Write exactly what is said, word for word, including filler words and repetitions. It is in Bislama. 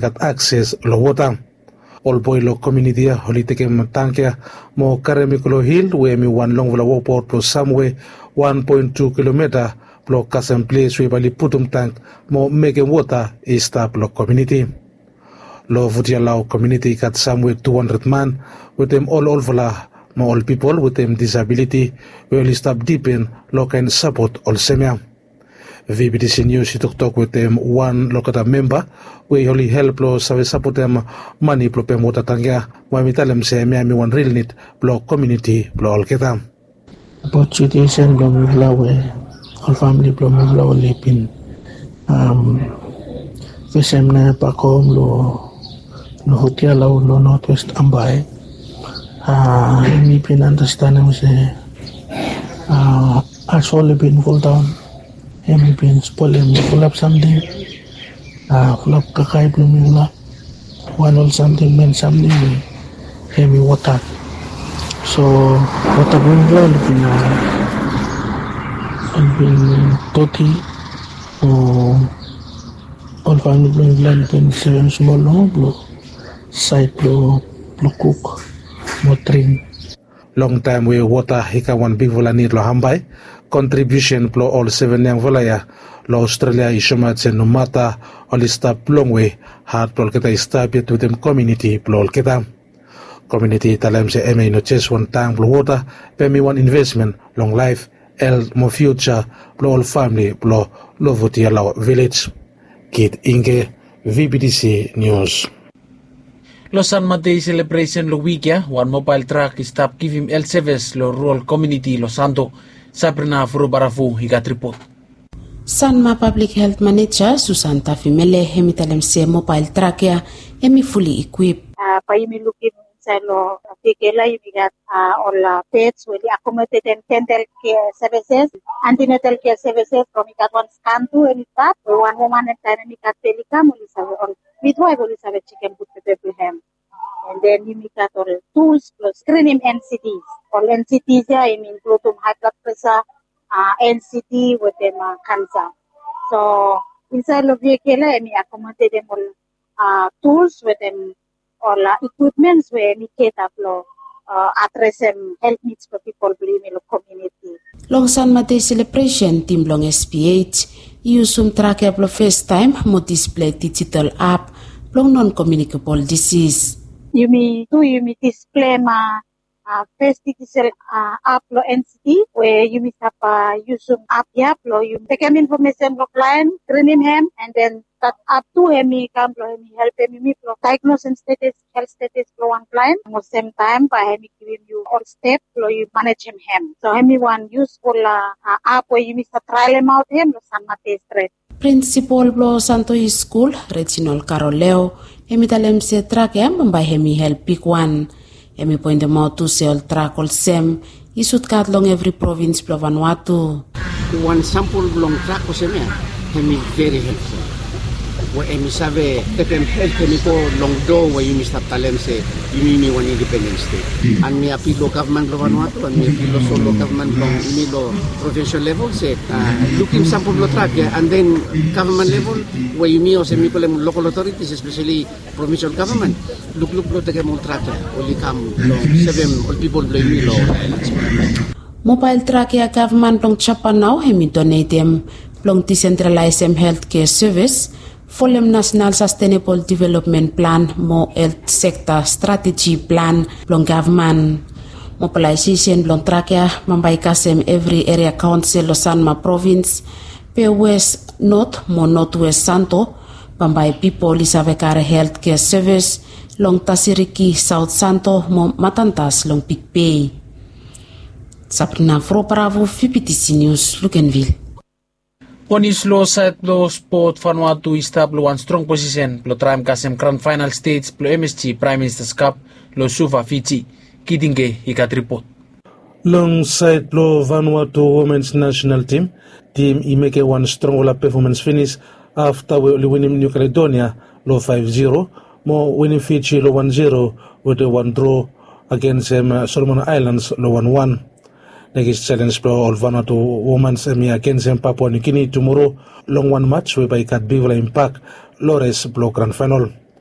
gat akses long wota. Ol boe long komiuniti ya oli tekem tangke ya mo karem i go long hil we hem i wan longfala wokbaot blong samwe wan poen tu kilomita blong kasem ples we bae oli putum tang mo mekem wota i stap long komiuniti. Long Vutialau komiuniti i gat samwe tu handred man wetem ol olfala mo ol pipol wetem disabiliti we oli stap dipen long kaen sapot olsem ya. Vbtc Nius i toktok wetem wan long olgeta memba we oli help long save sapotem mane blong pem wota tang ya, mo hem i talem se hemia hem i wan ril nid blong komiuniti blong olgeta. Abaot situesen blong mifala we ol famili blong mifala oli bin fesem na bakhom long Vutialau long notwest Ambae. Yumi bin anastenem se asol i bin foldaon, hem i bin spolem fulap samting, fulap kakae blong mifala, wan ol samting, men samting we hem i wota. So wota blong mifala oli bin, oli bin doti. O ol famili blong mifala oli bin sevem smol nomo blong saed blong kuk mo dring. Longtaem we wota i kam wan bigfala nid long Ambae, kontribiusen blong ol seven yangfala ya long Australia i soemaot se nomata oli stap longwe, hat blong olgeta i stap yet wetem komiuniti blong olgeta. Komiuniti i talem se hemia i no jes wan tang blong wota, be hem i wan invesmen long laef, helt mo fiuja blong ol famili blong Lovutialau vilej. Kit Ingge, Vbtc Nius. Long San Matei selebresen long wik ya, wan mobael trak i stap givim helt sevis long rural komiuniti long Santo. Sabrina Furubarafu i gat ripot. Sanma Pablik Helt Maneja Susan Tafimele hem i talem se mobael trak ya hem i fuli ikwip. Bae yumi lukim insaed long Vekela yumi gat ol peds we oli akomodetem dental kea sevises, antenatal kea sevises, from i gat wan skan tu hem i stap we wan woman, taem hem i gat bel i kam, oli save, ol midwaef oli save jekem gud pepe blong hem. And then yumi gat ol tuls blong skrinim N C Ds. Ol N C Ds ya hem i inkludim hae blad presa, N C D wetem kansa. So insaed long Vekela hem i akomodetem ol tuls wetem ol ikwipmens we hem i geta blong adresem helt nids blong pipol blong yumi long komiuniti. Long San Matei selebresen, tim blong S P H i yusum trak ya blong festaem mo displei dijital ap blong non komiunikebol disis. Yumi tu yumi displei ma fes dijital ap blong N C D we yumi stap yusum ap ya blong yumi tekem infomesen blong klaen, skrinim hem, and then dat ap tu hem i kam blong hem i helpem yumi blong daegnosem status, helt status blong wan klaen. Mo semtaem bae hem i givim yu ol step blong yu manejem hem. So hem i wan yusful ap we yumi stap traelemaot hem long San Matei stret. Prinsipol blong Santo High School, Reginald Caroleo, hem i talem se trak ya bambae hem i help bigwan. Hem i poentemaot tu se ol trak olsem i sud gat long evri provins blong Vanuatu. Wan sampol blong trak olsem ya hem i veri helpful. We hem i save stepem helt hem i go long doa we yumi stap talem se yumi, yumi wan independen stet. And mi apil long gavman blong Vanuatu, and mi apil olso long gavman blong yumi long provinsel level se lukim sampol blong trak ya, and then gavman level we yumi olsem mi kolem lokal otoritis, espeseli provinsel gavman, lukluk blong tekem ol trak ya oli kam blong sevem ol pipol blong yumi long. Mobael trak ya gavman blong Japan nao hem i donetem blong disentralaesem helt kea sevis, folem Nasenal Sastenebol Developmen Plan mo Helt Sekta Strateji Plan blong gavman. Mobalaesesen blong trak ya bambae i kasem evri eria kaonsel long Sanma provins, be wes, not mo notwes Santo, bambae pipol i save kare helt kea sevis long Tasiriki, Saot Santo mo Matantas long Bigbei. Sabrina Furubarafu, Vbtc Nius, Luganville. Ponis long saed blong spot, Vanuatu i stap long wan strong posisen blong traem kasem gran faenal stej blong M S G Praem Ministas Kap long Suva, Fiji. Kit Ingge i gat ripot. Long saed blong Vanuatu womens nasenal tim, tim i mekem wan strongfala pefomens finis afta we oli winim Niu Kaledonia long faef zero mo winim Fiji long wan zero wetem wan dro agensem Solomon Aelans long wan wan. Nekis selens blong ol Vanuatu womans hem i agensem Papua Niu Gini tumoro long wan maj we bae i gat bigfala impak long res blong gran faenol.